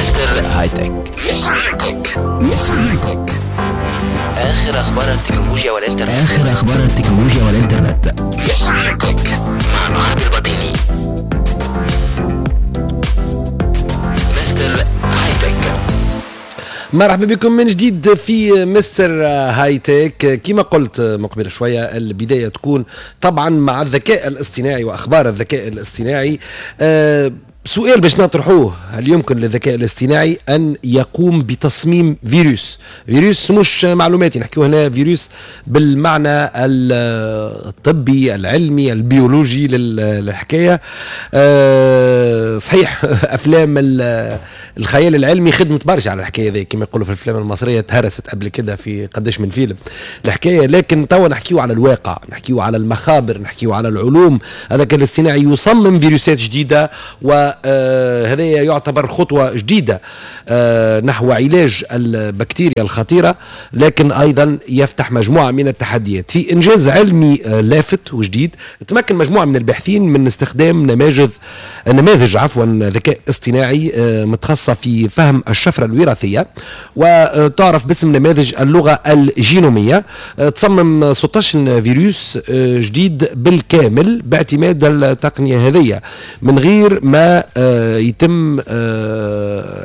مستر High-Tech. مستر High-Tech. مستر High-Tech. اخر اخبار التكنولوجيا والانترنت. اخر اخبار التكنولوجيا والانترنت. مستر High-Tech مع العربي البطيني. مستر High-Tech. مرحبا بكم من جديد في مستر High-Tech. كما قلت مقبل شوية، البداية تكون طبعا مع الذكاء الاصطناعي وأخبار الذكاء الاصطناعي. سؤال باش نطرحوه: هل يمكن للذكاء الاصطناعي أن يقوم بتصميم فيروس؟ فيروس مش معلوماتي، نحكيو هنا فيروس بالمعنى الطبي العلمي البيولوجي للحكاية. صحيح أفلام الخيال العلمي خدمت برشا على الحكاية ذي، كما يقولوا في الأفلام المصرية تهرست قبل كده في قداش من فيلم الحكاية، لكن توا نحكيو على الواقع، نحكيو على المخابر، نحكيو على العلوم. الذكاء الاصطناعي يصمم فيروسات جديدة، و هذا يعتبر خطوة جديدة نحو علاج البكتيريا الخطيرة، لكن أيضا يفتح مجموعة من التحديات. في إنجاز علمي لافت وجديد، تمكن مجموعة من الباحثين من استخدام نماذج ذكاء اصطناعي متخصصة في فهم الشفرة الوراثية وتعرف باسم نماذج اللغة الجينومية. تصمم 16 فيروس جديد بالكامل باعتماد التقنية هذه من غير ما يتم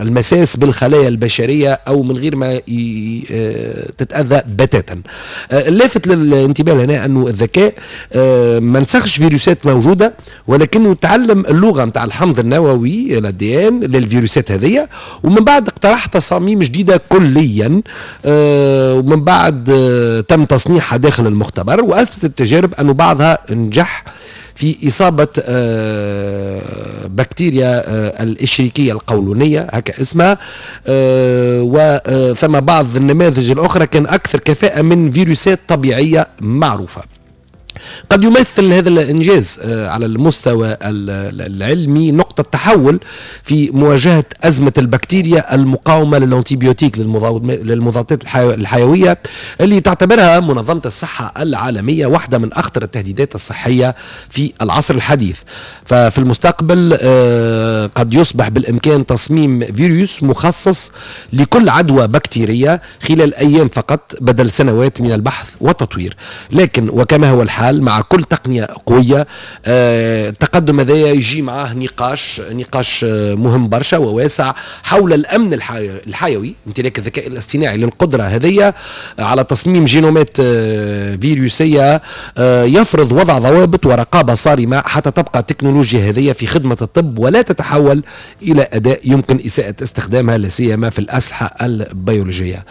المساس بالخلايا البشرية أو من غير ما تتأذى بتاتا. اللافت للانتباه هنا أنه الذكاء ما نسخش فيروسات موجودة، ولكنه تعلم اللغة متاع الحمض النووي l'ADN للفيروسات هذه، ومن بعد اقترح تصاميم جديدة كليا، ومن بعد تم تصنيعها داخل المختبر، وأثبتت التجارب أنه بعضها نجح في إصابة بكتيريا الإشريكية القولونية هكا اسمها، وثم بعض النماذج الأخرى كان أكثر كفاءة من فيروسات طبيعية معروفة. قد يمثل هذا الإنجاز على المستوى العلمي نقطة تحول في مواجهة أزمة البكتيريا المقاومة لل antibiotiques، للمضادات الحيوية، اللي تعتبرها منظمة الصحة العالمية واحدة من أخطر التهديدات الصحية في العصر الحديث. ففي المستقبل قد يصبح بالإمكان تصميم فيروس مخصص لكل عدوى بكتيرية خلال أيام فقط بدل سنوات من البحث والتطوير. لكن وكما هو الحال مع كل تقنية قوية، التقدم هذا يجي معاه نقاش مهم برشا وواسع حول الأمن الحيوي. امتلاك الذكاء الاصطناعي للقدرة هذه على تصميم جينومات فيروسية يفرض وضع ضوابط ورقابة صارمة حتى تبقى التكنولوجيا هذه في خدمة الطب ولا تتحول إلى أداة يمكن إساءة استخدامها، لا سيما في الأسلحة البيولوجية.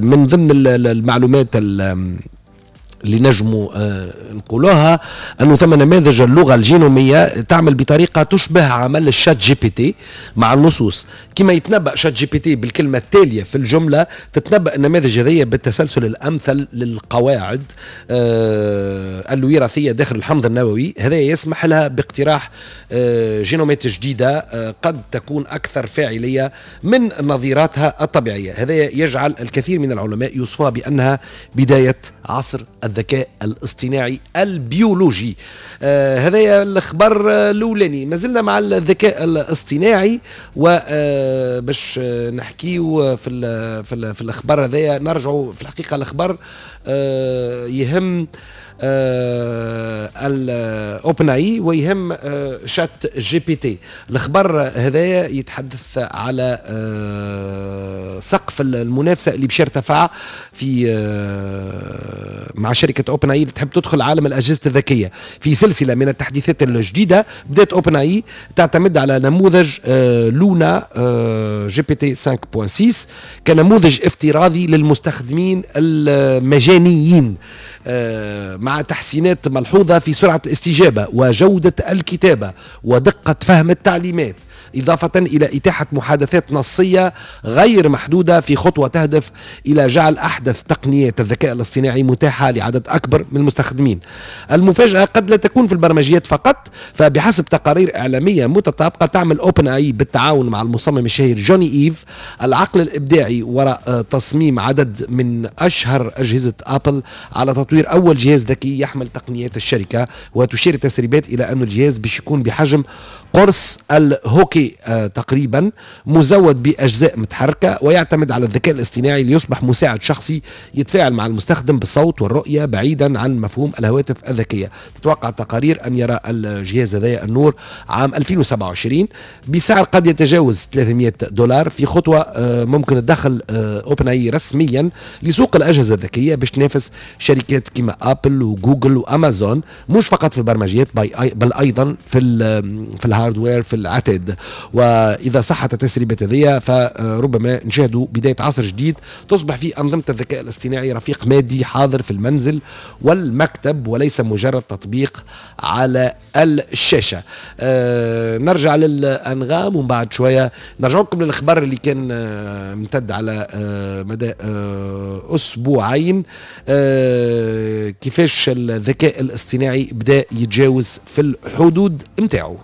من ضمن المعلومات اللي نجموا نقولوها أنه ثم نماذج اللغة الجينومية تعمل بطريقة تشبه عمل ال ChatGPT مع النصوص. كما يتنبأ ChatGPT بالكلمة التالية في الجملة، تتنبأ النماذج هذه بالتسلسل الأمثل للقواعد الوراثية داخل الحمض النووي. هذا يسمح لها باقتراح جينومات جديدة قد تكون أكثر فاعلية من نظيراتها الطبيعية. هذا يجعل الكثير من العلماء يوصفوها بأنها بداية عصر الذكاء الاصطناعي البيولوجي. هذا الخبر الاولاني. ما زلنا مع الذكاء الاصطناعي، وباش نحكيو في الاخبار هذايا نرجعوا في الحقيقة الخبر يهم ال OpenAI ويهم ChatGPT. الخبر هذايا يتحدث على سقف المنافسة اللي باش يرتفع في مع شركة OpenAI اللي تحب تدخل عالم الاجهزة الذكية. في سلسلة من التحديثات الجديدة بدات OpenAI تعتمد على نموذج Luna GPT 5.6 كنموذج افتراضي للمستخدمين المجانيين، مع تحسينات ملحوظة في سرعة الاستجابة وجودة الكتابة ودقة فهم التعليمات، إضافة إلى إتاحة محادثات نصية غير محدودة في خطوة تهدف إلى جعل أحدث تقنيات الذكاء الاصطناعي متاحة لعدد أكبر من المستخدمين. المفاجأة قد لا تكون في البرمجيات فقط، فبحسب تقارير إعلامية متطابقة تعمل OpenAI بالتعاون مع المصمم الشهير جوني إيف العقل الإبداعي وراء تصميم عدد من أشهر أجهزة أبل على تطوير تطوير أول جهاز ذكي يحمل تقنيات الشركة. وتشير التسريبات إلى أن الجهاز باش يكون بحجم قرص الهوكي تقريبا، مزود بأجزاء متحركة ويعتمد على الذكاء الاصطناعي ليصبح مساعد شخصي يتفاعل مع المستخدم بالصوت والرؤية بعيدا عن مفهوم الهواتف الذكية. تتوقع التقارير أن يرى الجهاز هذا النور عام 2027 بسعر قد يتجاوز $300، في خطوة ممكن تدخل OpenAI رسميا لسوق الأجهزة الذكية باش تنافس شركات كما ابل وجوجل وامازون، مش فقط في البرمجيات بل ايضا في ال hardware، في العتاد. واذا صحت التسريبات هذه فربما نشاهدوا بداية عصر جديد تصبح فيه انظمة الذكاء الاصطناعي رفيق مادي حاضر في المنزل والمكتب وليس مجرد تطبيق على الشاشه. نرجع للانغام ومن بعد شوية نرجع لكم للخبر اللي كان امتد على مدى اسبوعين، كيفاش الذكاء الاصطناعي بدا يتجاوز في الحدود متاعه.